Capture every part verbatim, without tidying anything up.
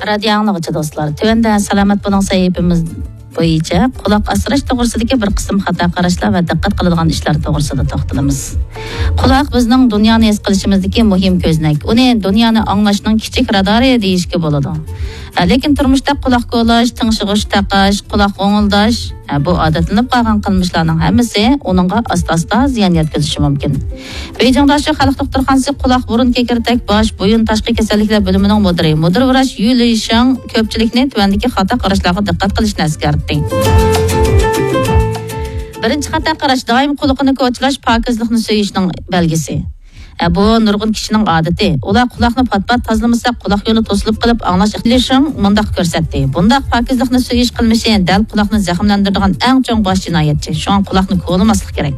رادىيو ئاڭلىغۇچى دوستلار، تۆۋەندە سالامەت بولۇڭ سەھىپىمىز بويىچە قۇلاق ئاسراش توغرىسىدىكى بىر قىسىم خاتا قاراشلار ۋە دىققەت قىلىدىغان ئىشلار توغرىسىدا توختىلىمىز. قۇلاق بىزنىڭ دۇنيانى ھېس قىلىشىمىزدىكى مۇھىم كۆزنەك. ئۇنى دۇنيانى ئاڭلاشنىڭ كىچىك رادارى دېيىشكە بولىدۇ. ھە، لېكىن تۇرمۇشتا قۇلاق كولاش، تىڭشىغۇچ تاقاش، قۇلاق غوڭۇلداش، ھە، بۇ ئادەتلىنىپ قالغان قىلمىشلارنىڭ ھەممىسى ئۇنىڭغا ئاستا-ئاستا زىيان يەتكۈزۈشى مۇمكىن. بېيجىڭدا شۇ خەلق دوختۇرخانىسى قۇلاق، بۇرۇن، كېكىرتەك، باش، بويۇن، تاشقى كېسەللىكلەر بۆلۈمىنىڭ مۇدىرى، مۇدىر ۋراچ يۈ لىشاڭ كۆپچىلىكنى تۆۋەندىكى خاتا قاراشلارغا دىققەت قىلىشنى ئەسكەرتتى. بىرىنچى خاتا قاراش، دائىم قۇلىقىنى كوچىلاش پاكىزلىقنى سۆيۈشنىڭ بەلگىسى. ئە، بۇ نۇرغۇن كىشىنىڭ ئادىتى. ئۇلار قۇلاقنى پات-پات تازىلىمىسا، قۇلاق يولى توسۇلۇپ قېلىپ، ئاڭلاش ئىقتىدارى مۇنداق كۆرسەتتى. بۇنداق پاكىزلىقنى سۆيۈش قىلمىشى دەل قۇلاقنى زەخىملەندۈرىدىغان ئەڭ چوڭ باش جىنايەتچى. شۇڭا قۇلاقنى كولىماسلىق كېرەك.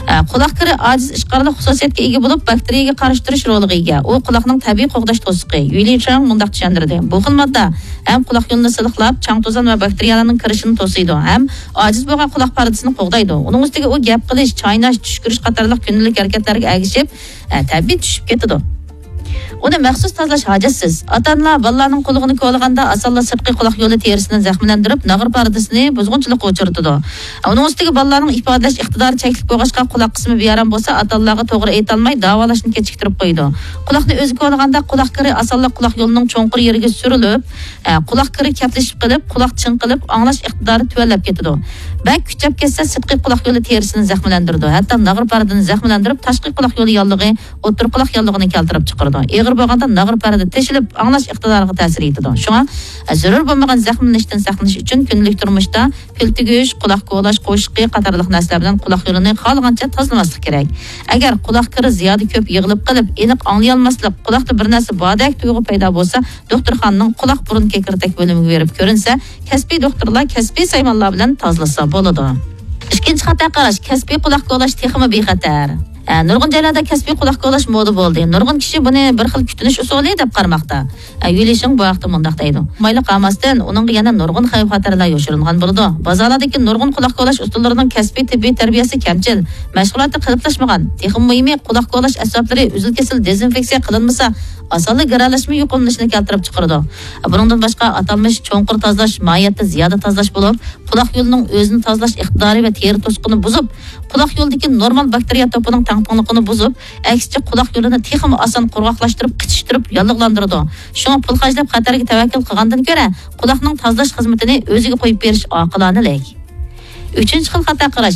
ئە، قۇلاق كىرى ئاجىز ئىشقارلىق خۇسۇسىيەتكە ئىگە بولۇپ، باكتېرىيەگە قارشى تۇرۇش رولىغا ئىگە. ئۇ قۇلاقنىڭ تەبىئىي قوغداش توسۇقى. يۈ لىشاڭ مۇنداق چۈشەندۈردى. بۇ خىل ماددا ھەم قۇلاق يولىنى سىلىقلاپ، چاڭ-توزان ۋە باكتېرىيەلەرنىڭ كىرىشىنى توسۇيدۇ ھەم ئاجىز بولغان قۇلاق پەردىسىنى قوغدايدۇ. ئۇنىڭ ئۈستىگە ئۇ گەپ قىلىش، چايناش، چۈشكۈرۈش قاتارلىق كۈندىلىك ھەرىكەتلەرگە ئەگىشىپ، ئە، تەبىئىي چۈشۈپ كېتىدۇ. ئۇنى مەخسۇس تازىلاش ھاجەتسىز. ئاتا-ئانىلار بالىلارنىڭ قۇلىقىنى كولىغاندا، ئاسانلا سىرتقى قۇلاق يولى تېرىسىنى زەخىملەندۈرۈپ، ناغرا پەردىسىنى بۇزغۇنچىلىققا ئۇچرىتىدۇ. ئۇنىڭ ئۈستىگە بالىلارنىڭ ئىپادىلەش ئىقتىدارى چەكلىك بولغاچقا، قۇلاق قىسمى بىئارام بولسا، ئاتا-ئانىلارغا توغرا ئېيتالماي، داۋالاشنى كېچىكتۈرۈپ قويىدۇ. قۇلاقنى ئۆزى كولىغاندا، قۇلاق كىرى ئاسانلا قۇلاق يولىنىڭ چوڭقۇر يېرىگە سۈرۈلۈپ، ئە، قۇلاق كىرى كەپلىشىپ قېلىپ، قۇلاق چىڭقىلىپ، ئاڭلاش ئىقتىدارى تۆۋەنلەپ كېتىدۇ. بەك كۈچەپ كەتسە، سىرتقى قۇلاق يولى تېرىسىنى زەخىملەندۈرىدۇ. ھەتتا ناغرا پەردىنى زەخىملەندۈرۈپ، تاشقى قۇلاق يولى ياللۇغى، ئوتتۇرا قۇلاق ياللۇغىنى كەلتۈرۈپ چىقىرىدۇ. ئېغىر بولغاندا ناغرا پەردە تېشىلىپ، ئاڭلاش ئىقتىدارىغا تەسىر يېتىدۇ. شۇڭا، ئە، زۆرۈر بولمىغان زەخىملىنىشتىن ساقلىنىش ئۈچۈن كۈندىلىك تۇرمۇشتا پىل تۈگۈش، قۇلاق كولاش قوشۇقى قاتارلىق نەرسىلەر بىلەن قۇلاق يولىنى خالىغانچە تازىلىماسلىق كېرەك. ئەگەر قۇلاق كىرى زىيادە كۆپ يىغىلىپ قېلىپ، ئېنىق ئاڭلىيالماسلىق، قۇلاقتا بىر نەرسە باردەك تۇيغۇ پەيدا بولسا، دوختۇرخانىنىڭ قۇلاق بۇرۇن كېكىرتەك بۆلۈمىگە بېرىپ كۆرۈنسە، كەسپىي دوختۇرلار كەسپىي سايمانلار بىلەن تازىلىسا بولىدۇ. ئىككىنچى خاتا قاراش، كەسپىي قۇلاق كولاش تېخىمۇ بىخەتەر. ئە، نۇرغۇن جايلاردا كەسپىي قۇلاق كولاش مودا بولدى. نۇرغۇن كىشى بۇنى بىر خىل كۈتۈنۈش ئۇسۇلى دەپ قارىماقتا. ئە، يۈ لىشىڭ بۇ ھەقتە مۇنداق دەيدۇ. مايلىق قالماستىن، ئۇنىڭغا يەنە نۇرغۇن خەۋپ-خەتەرلەر يوشۇرۇنغان بولىدۇ. بازارلاردىكى نۇرغۇن قۇلاق كولاش ئۇسۇللىرىنىڭ كەسپىي تېببىي تەربىيەسى كەمچىل، مەشغۇلاتى قېلىپلاشمىغان. تېخىمۇ مۇھىمى، قۇلاق كولاش ئەسۋابلىرى ئۈزۈل-كېسىل دېزىنفېكسىيە قىلىنمىسا، ئاسانلا گىرەلەشمە يۇقۇملىنىشىنى كەلتۈرۈپ چىقىرىدۇ. بۇنىڭدىن باشقا، ئاتالمىش چوڭقۇر تازىلاش ماھىيەتتە زىيادە تازىلاش بولۇپ، قۇلاق يولىنىڭ ئۆزىنى تازىلاش ئىقتىدارى ۋە تېرە توسۇقىنى بۇزۇپ، قۇلاق يولىدىكى نورمال باكتېرىيە توپىنىڭ تەڭپۇڭلۇقىنى بۇزۇپ، ئەكسىچە، قۇلاق يولىنى تېخىمۇ ئاسان قۇرغاقلاشتۇرۇپ، قىچىشتۇرۇپ، ياللۇغلاندۇرىدۇ. شۇڭا پۇل خەجلەپ خەتەرگە تەۋەككۈل قىلغاندىن كۆرە، قۇلاقنىڭ تازىلاش خىزمىتىنى ئۆزىگە قويۇپ بېرىش ئاقىلانىلىك. ئۈچىنچى خىل خاتا قاراش،